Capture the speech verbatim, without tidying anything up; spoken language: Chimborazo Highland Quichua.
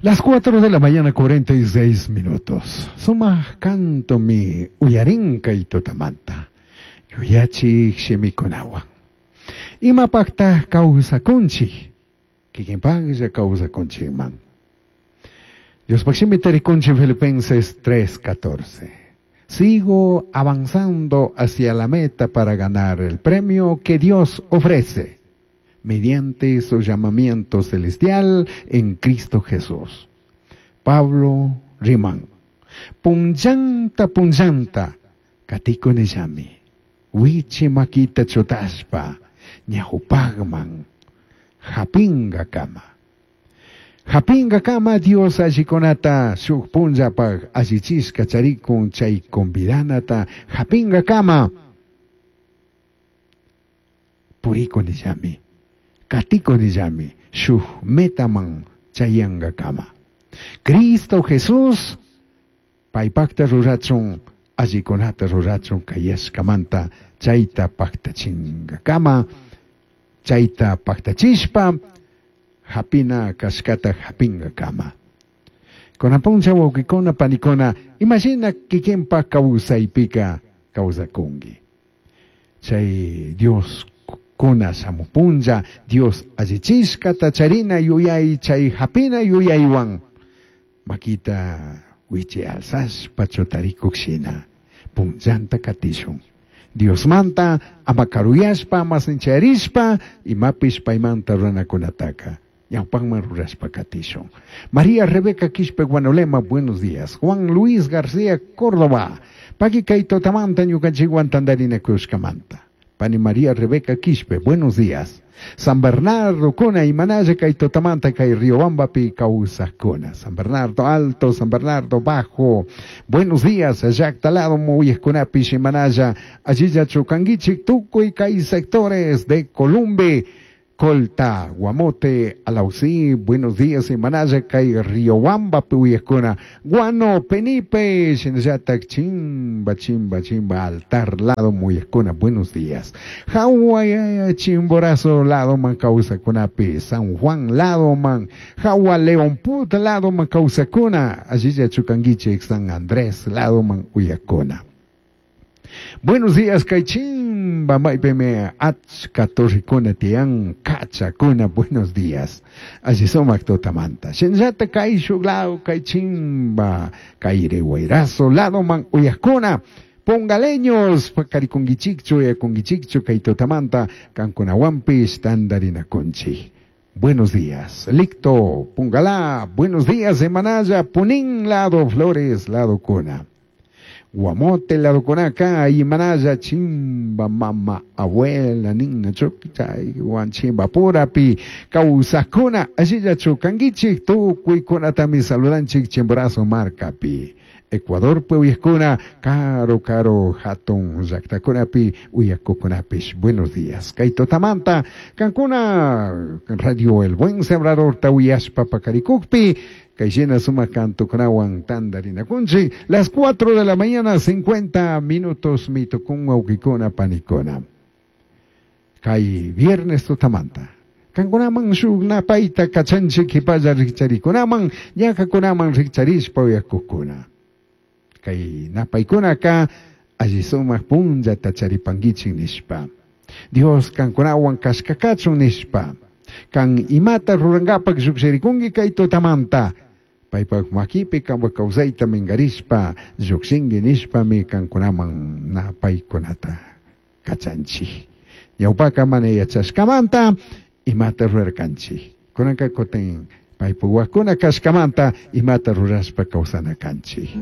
Las cuatro de la mañana, cuarenta y seis minutos. Sumaj cantomi uyarin kay tutamanta. Yuyachik shimikunawan. Imapaqtaq kawsakunchik? Kikinpaqlla kawsakunchikman. Diospaq shimita rikunchik Filipenses tres catorce. Sigo avanzando hacia la meta para ganar el premio que Dios ofrece mediante su llamamiento celestial en Cristo Jesús. Pablo riman. Punllanta punllanta katikunillami. Wichi makita chutashpa ñawpajman japingakama. Japingakama Dios allikunata shuk punllapaj allichishka charikun chay convidanata japingakama purikunillami. Katikunillami shuk metaman chayangakama. Cristo Jesús paypakta rurachun allikunata rurachun kayashkamanta chayta paktachingakama chayta paktachishpa hapina kashkata hapingakama. Kunan punlla wawkikuna panikuna imashina kikinpa kawsaypika kawsakunki. Chay Dios kuna shamupunlla Dios allichishkata charina yuyay chay hapina yuyaywan makita wichi alsashpa chutarikuk shina punllanta katishun. Diosmanta ama karuyashpa ama sincharishpa imapish paymanta runakunataka ñawpakman rurashpa katishun. María Rebeca Quispe Guanolema, buenos días. Juan Luis García Córdoba, paki kay tutamanta ñukanchikwan tandarinakushkamanta. Pani María Rebeca Quispe, buenos días. San Bernardo kuna imanalla kay tutamanta kay Riobambapi kawsakuna. San Bernardo Alto, San Bernardo Bajo. Buenos días, llaqta lado uyajkunapish imanalla allillachu kankichik tukuy kay sectores de Columbe. Colta, Guamote, Alausí, buenos días, imanalla kay Riobamba uyajkuna. Guano, Penipe, shinallatak chimba, chimba, chimba, altar lado uyajkuna, buenos días. Jagua, Chimborazo lado man kawsakunapi, San Juan lado man, Jagua León Put lado man kawsakuna, allillachu kankichik San Andrés lado man uyajkuna. Buenos días, kay chimba, maypimi achka torrikuna tiyan, kachakuna, buenos días. Alli sumak tutamanta. Shinallata kay shuk lado, kay chimba, kay Guayrazo lado man uyajkuna. Pongaleños, pakarikunkichikchu, uyakunkichikchu, kay tutamanta, kankunawanpish tandarinakunchik. Buenos días. Licto, Pungalá, buenos días, Emanaya, Punín, lado Flores, lado Cuna. Guamote, lado Cunaca, Imanaya, chimba, mama, abuela, nina, chuchay, chimba, purapi, kawsakuna, allillachu kankichik, tukuykunatami saludanchik, Chimborazo markapi. Ecuador uyajkuna, karu karu hatun llaqtakunapi uyakukunapish. Buenos días. Kay tutamanta, kankuna, Radio El Buen Sembrador uyashpa pakarikukpi, kay sumak cantokunawan tandarinakunchik, las cuatro de la mañana, cincuenta minutos mitukun wawkikuna panikuna. Kay viernes tutamanta. Kankunaman shuk napayta kachanchik kipalla rikcharikunaman, ñakakunaman rikcharishpa uyakukuna. Kay napaykunaka alli sumak punllata charipankichik nishpa. Dios kankunawan kashkakachun nishpa. Kan imata rurankapak llukshirikunki kay tutamanta. Paypak makipi kanpak kawsayta minkarishpa llukshinki nishpami kankunaman napaykunata kachanchik. Ñawpaka mana yachashkamanta imata rurarkanchik. Kunanka kutin paypak wawakuna kashkamanta imata rurashpa kawsana kanchik.